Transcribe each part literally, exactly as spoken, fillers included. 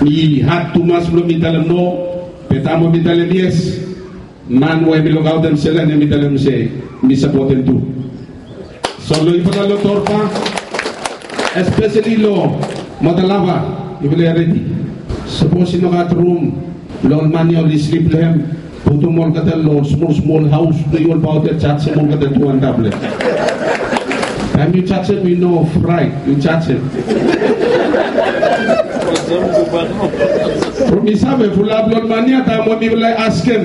Mi had tumas blong mi talem no, be taem we mi talem yes, man we mi lukaotem Selen hemi talem se mi sapotem tu. So long yufala long Torpa, espeseli long Matalava, yufala ya redi? Sapos i no gat rum blong ol man ya oli slip long hem, putum olgeta long smol smol haos blong yu olbaot ya, jajem olgeta tu antap long hem. Taem yu jajem, yu no fraet, yu jajem. From mi save, fulap blong ol man ya, taem we mifala i askem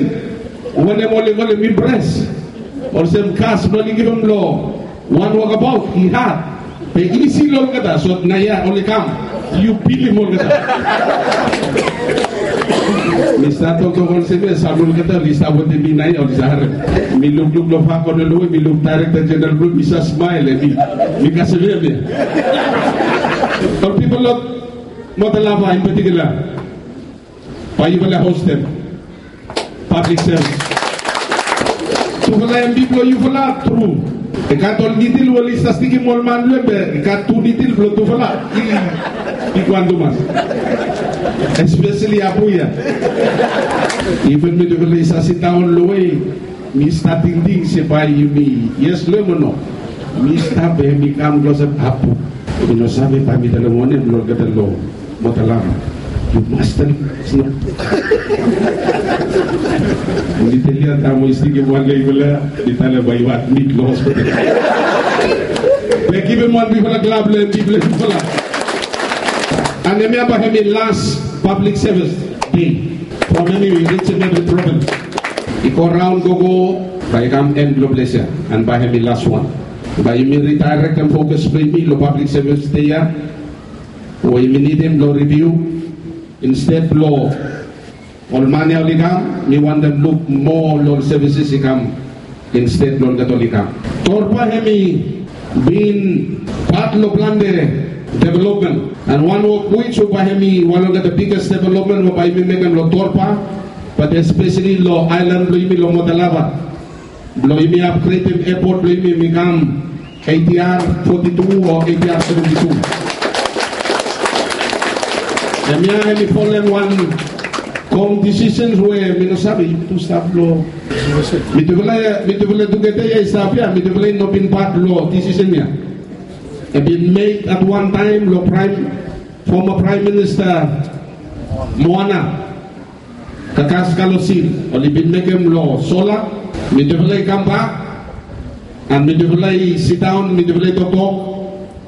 wanem oli kolem impres, olsem kas blong oli givim long wan wokabaot, i had. Be isi long olgeta, so naoia oli kam, yu bilim olgeta. Mi stap toktok olsem ya, sam olgeta oli stap wetem mi naoia, oli save harem. Mi lukluk long far kona long we mi luk Daerekta Jeneral blong mi, mi save smael, hemi, mi kasem hem ya. Ol pipol long Matalava in particular, bae yufala hostem pablik sevis. Tufala hemi blong yufala tru. I gat ol nidil we oli save stikim ol man blong hem, be i gat tu nidil blong tufala i bigwan tumas. Espeseli Apu ya. Iven mitufala i save sidaon long we mi stap tingting se bae yumi yes long hem o no. Mi stap, be hemi kam klosap, Apu, mi no save bae mi talem wanem long olgeta long Matalava. Yu mas talem. Nidil ya, taem we i stikim wan long yufala, i talem bae yu admit long hospital. Be givim wan bigfala klap long hem, bigfala, bigfala. And hemia bae hemi las pablik sevis dei from hemi risim evri provins. I go raon gogo, bae i kam en long ples ya, and bae hemi las wan. Bae yumi ridaerektem fokas blong yumi long pablik sevis dei ya, we yumi nidim blong riviu, insted blong ol man ya oli kam, mi wantem luk moa long ol sevises i kam, insted blong olgeta oli kam. Torpa hemi bin pat long plante developmen, and one of which we bae hemi wan long olgeta biges developmen we bae yumi mekem long Torpa, but espeseli long aelan blong yumi long Matalava, blong yumi apgredem epot blong yumi, mi kam A T R forty-two o A T R seventy-two. Hemia hemi folem wan kong disisen we mi no save, yumi tu stap long, mitufala, mitufala tugeta ya i stap ya, mitufala i no bin pat long disisen ya. I bin made at one time long Praem, foma Praem Minista Moana Kakaskalosil, oli bin mekem long sola. Mitufala i kambak, and mitufala i sidaon, mitufala i toktok,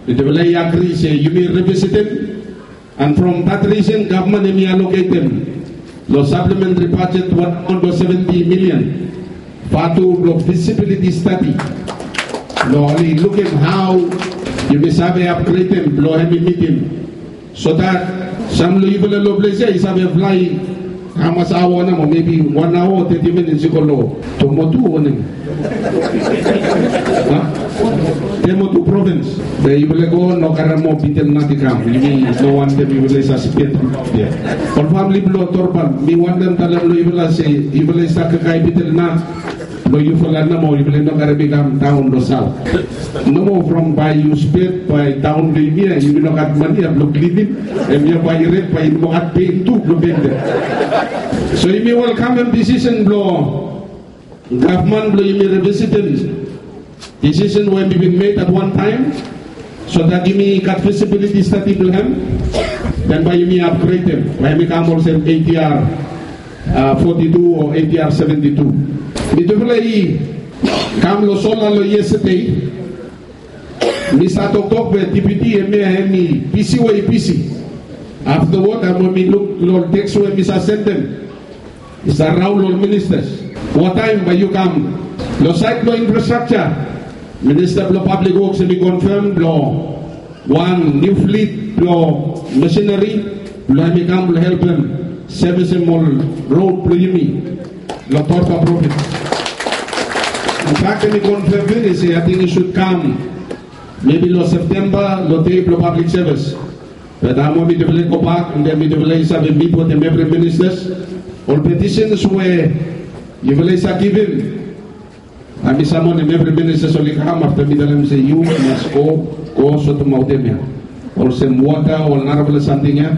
mitufala i agri se yumi revisitem, and from that reason gavman hemi aloketem long saplementri bajet wan hundred seventy milian, fatu blong visibiliti stadi, blong oli lukim hao yumi save apgredem blong hemi mitim. So that sam long yufala long ples ya i save flae hamas aoa nao, mebi wan aoa o teti minits i go long Tomotu o wanem, a? Tomotu provins. Be yufala i go, no karem moa bitel nat i kam. Yumi no wantem yufala i save spet ya. Ol famili blong Torpa, mi wantem talem long yufala se yufala i stap kakae bitel nat blong yufala nomo, yufala i no karem i kam daon long saot. Nomo from bae yu spet bae daon long yumi ya, yumi no gat mane ya blong klinim. Hemia bae i ret, bae i no gat pen tu blong penta. So yumi welkamem disisen blong gavman blong yumi revisitem disisen we hemi bin made at wan taem, so that yumi gat visibiliti stadi blong hem, den bae yumi apgredem, bae hemi kam olsem A T R, a, forty-two o A T R seventy-two. Mitufala i kam long sola long yestade, mi save toktok be deputi hemia hemi bisi we i bisi. Aftawod, taem we mi luk long teks we mi save sendem, i save raon long ol ministas, wataem bae yu kam. Long saed blong infrastrakja, Minista blong Pablik Woks hemi konfem blong wan niu flit blong masineri blong hemi kam blong helpem sevisem ol rod blong yumi long Torpa provins. Infak hemi konfem finis se ating i sud kam mebi long Septemba, long dei blong pablik sevis. Be taem we mitufala i gobak, and then mitufala i save mit wetem evri ministas, ol petisens we yufala i save givim, bae mi samonem evri ministas oli kam afta mi talem se yu mas go, go sotemaot hemia, olsem wota o ol narafala samting ya.